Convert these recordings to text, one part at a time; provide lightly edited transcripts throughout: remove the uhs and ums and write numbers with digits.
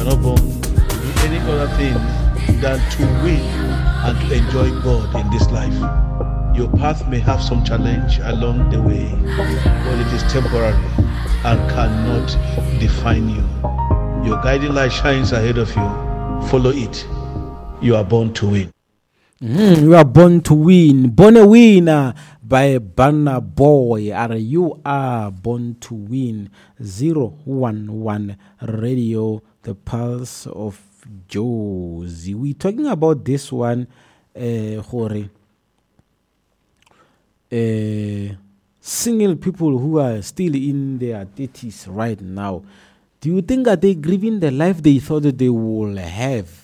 You are not born to do any other thing than to win and to enjoy God in this life. Your path may have some challenge along the way, but it is temporary and cannot define you. Your guiding light shines ahead of you. Follow it. You are born to win. Mm, you are born to win. Born a winner by Banner Boy. Are you are born to win. 011 Radio, the pulse of Jozi. We talking about this one, uh, gore, uh, single people who are still in their 30s right now. Do you think that they grieving the life they thought that they will have?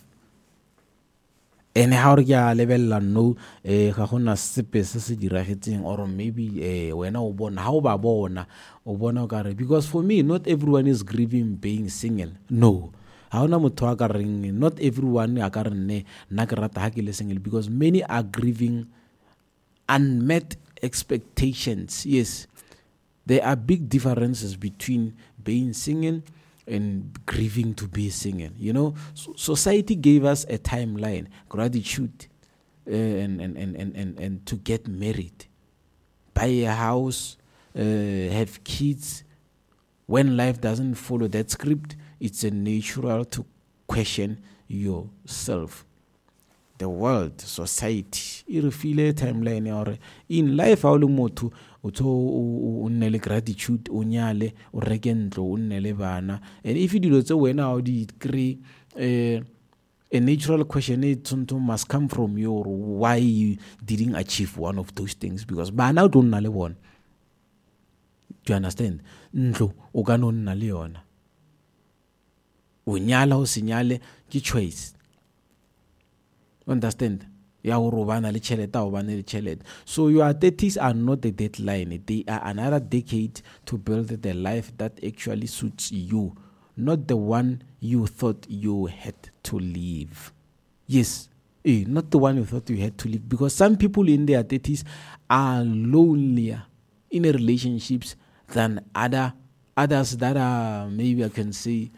Ene ga gore ke a lebelela no um ga gona sepe se se diragetseng or maybe um wena o bona ga o ba bona o bona o kare because for me not everyone is grieving being single no ga gona motho a ka reng not everyone a ka re nne nna ke rata ga ke le single because many are grieving unmet expectations yes there are big differences between being single and grieving to be single. You know, so society gave us a timeline, gratitude, uh, and, and, and, and, and, and to get married, buy a house, uh, have kids. When life doesn't follow that script, it's a natural to question yourself. The world, society e re file timeline ya gore in life ha o le motho o tso o nne le gratitude o nyale o reke ntlo o nne le bana and if dilo tse wena ha o di kry um a natural question e tshwanetse must come from you or why you didn't achieve one of those things because bana o tlo nna le bona do you understand ntlo o ka no nna le yona o nyala o se nyale ke choice understand ya gore o bana le tšhelete a o bane le tšhelete so your 30s are not a deadline they are another decade to build the life that actually suits you not the one you thought you had to live yes eh, not the one you thought you had to live because some people in their 30s are lonelier in relationships than other others that are maybe I can say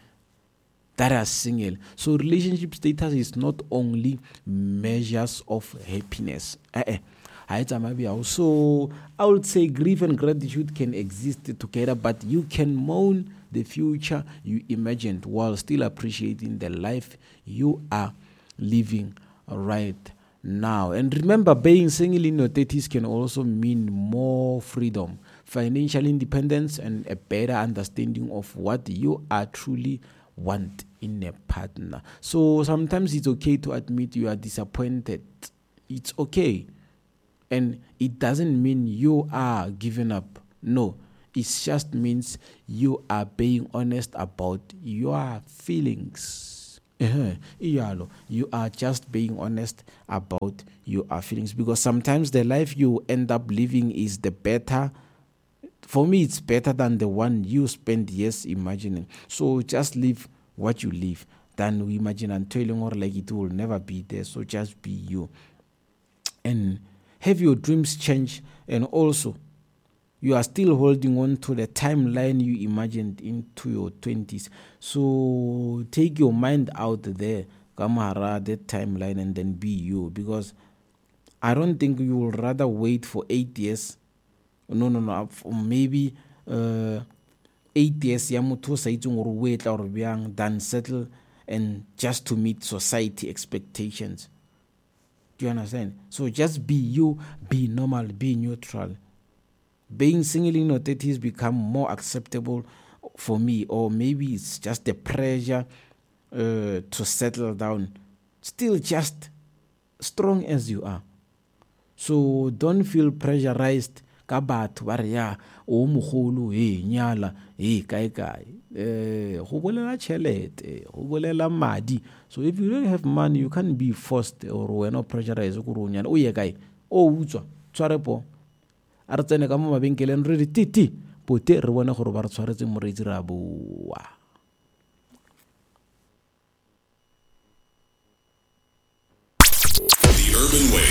that are single. So relationship status is not only measures of happiness. Eh eh. So I would say grief and gratitude can exist together, but you can mourn the future you imagined while still appreciating the life you are living right now. And remember, being single in your 30s can also mean more freedom, financial independence, and a better understanding of what you are truly want in a partner. So sometimes it's okay to admit you are disappointed. It's okay. And it doesn't mean you are giving up. No, it just means you are being honest about your feelings. Uh-huh. You are just being honest about your feelings because sometimes the life you end up living is the better. For me, it's better than the one you spend years imagining. So just live what you live than we imagine and telling or like it will never be there. So just be you and have your dreams change. And also, you are still holding on to the timeline you imagined into your 20s. So take your mind out there, Kamara, that timeline, and then be you. Because I don't think you will rather wait for 8 years. No, no, no. Maybe 8 years ya motho o sa itseng gore o etla gore bjang than settle and just to meet society expectations. Do you understand? So just be you, be normal, be neutral. Being single in your 30s become more acceptable for me, or maybe it's just the pressure to settle down. Still just strong as you are. So don't feel pressurized ka batho ba re ya o mogolo he nyala he kae kae go bolela tšhelete go bolela madi. So if you don't have money, you can't be forced or wena o pressurized gore o nyala o ye kae o utswa tshware po a re tsene ka mo mabenkeleng re re titi pote re bone gore ba re tshwaretse moreetsi re a boa. The Urban Wave.